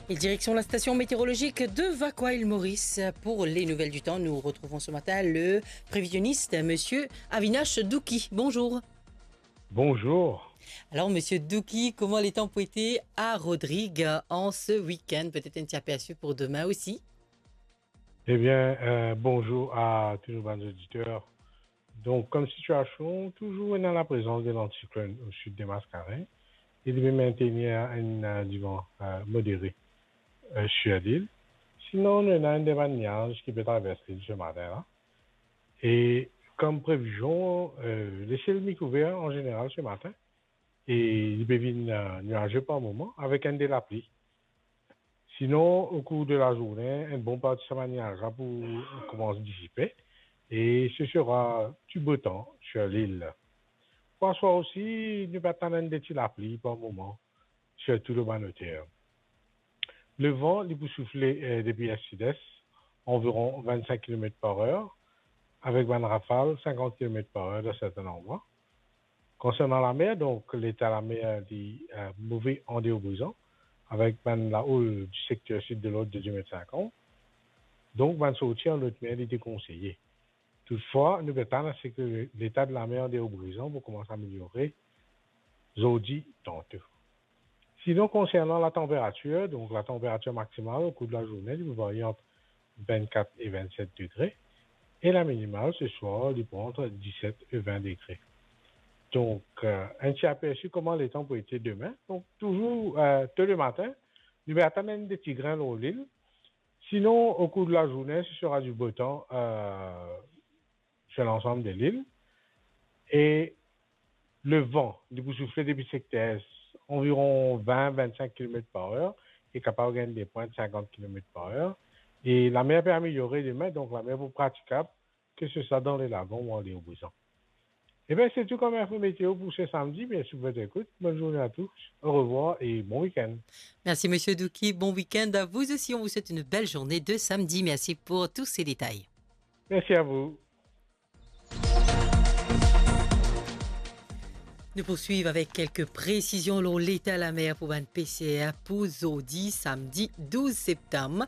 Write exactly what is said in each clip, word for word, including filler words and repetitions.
Et direction la station météorologique de Vacoas, île Maurice, pour les nouvelles du temps. Nous retrouvons ce matin le prévisionniste, monsieur Avinash Douki. Bonjour. Bonjour. Alors, monsieur Douki, comment le temps pou ete à Rodrigues en ce week-end ? Peut-être un petit aperçu pour demain aussi ? Ebien, euh, bonzour a tou nou bann oditer. Donk, kom sitiasion, touzour ena laprezans de lantiklonn o sid de Maskarin, e li pe mintenir enn, euh, divan, euh, modere, euh, sir lil. Sinon, nou ena enn de bann niaz ki pe travers lil se matin la. E kom previzion, euh, lesiel mi kouver an zeneral se matin, e li pe vinn, euh, niaze par moman avek enn de lapli. Sinon, o kour de lazourne, enn bon parti sa bann niaz la pou koumans disipe, e se sera du beau temps sir lil. Pou aswar osi, nou pe atann enn de ti lapli par moman, sirtou lor bann oter. Levan, li pou soufle, euh, depi est-sidest, anviron vinn-sink kilomet par er, avek bann rafal sinkant kilomet par er dan sertin landrwa. Konsernan lamer, donk, leta lamer, li, euh, move an deor Brizan, avek bann laoul di sekter sid de lord de de met sinkant. Donk, bann sorti an lot mer, li dekonseye. Toutfwa, nou pe atann a se ke leta de lamer an deor Brizan pou koumans ameliore zordi tanto. Sinon, konsernan latanperatir, donk latanperatir maksimal o kour de lazourne, li pou varye ant vinn-kat e vinn-set degre, e laminimal se swar, li pou ant diset e vin degre. Donk, euh, enn ti apersi kouma letan pou ete demin. Donk, touzour, euh, to lematin, nou pe atann enn de ti grin lor lil. Sinon, o kour de lazourne, se sera du beau temps, euh, sur lansam de lil. E levan, li pou soufle depi sekter est, anviron vinn, vinn-sink kilomet par er, e kapav gagn de pwint sinkant kilomet par er. E lamer pe ameliore demin, donk lamer pou pratikab, ke se swa dan le lagon ou an deor Brizan. Ebien, se tou kom info meteo pou se samdi. Mersi pou zot ekout. Bonn zourne a tous. Orevwar e bon week-end. Merci, monsieur Douki. Bon week-end à vous aussi. On vous souhaite une belle journée de samedi. Merci pour tous ces détails. Mersi a vou. Nou poursuiv avek kelke presizion lor leta lamer pou bann peser pou zordi, samdi douz septam.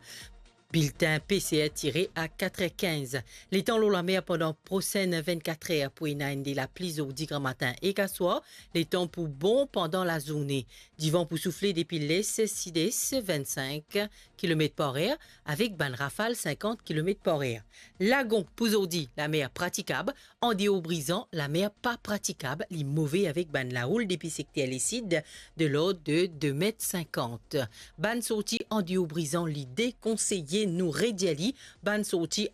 Biltin peser tire a kat er kinz. Letan lor lamer pandan prosenn vinn-kat er pou ena enn de lapli zordi gramatin ek aswar, letan pou bon pandan lazourne. Divan pou soufle depi les, sides, vinn-sink kilomet par er, avek bann rafal sinkant kilomet par er. Lagon pou zordi, lamer pratikab, an deor Brizan, lamer pa pratikab, li move avek bann laoul depi sekter lesid de lord de de met sinkant. Bann sorti an deor Brizan, li dekonseye, nou redir li, bann sorti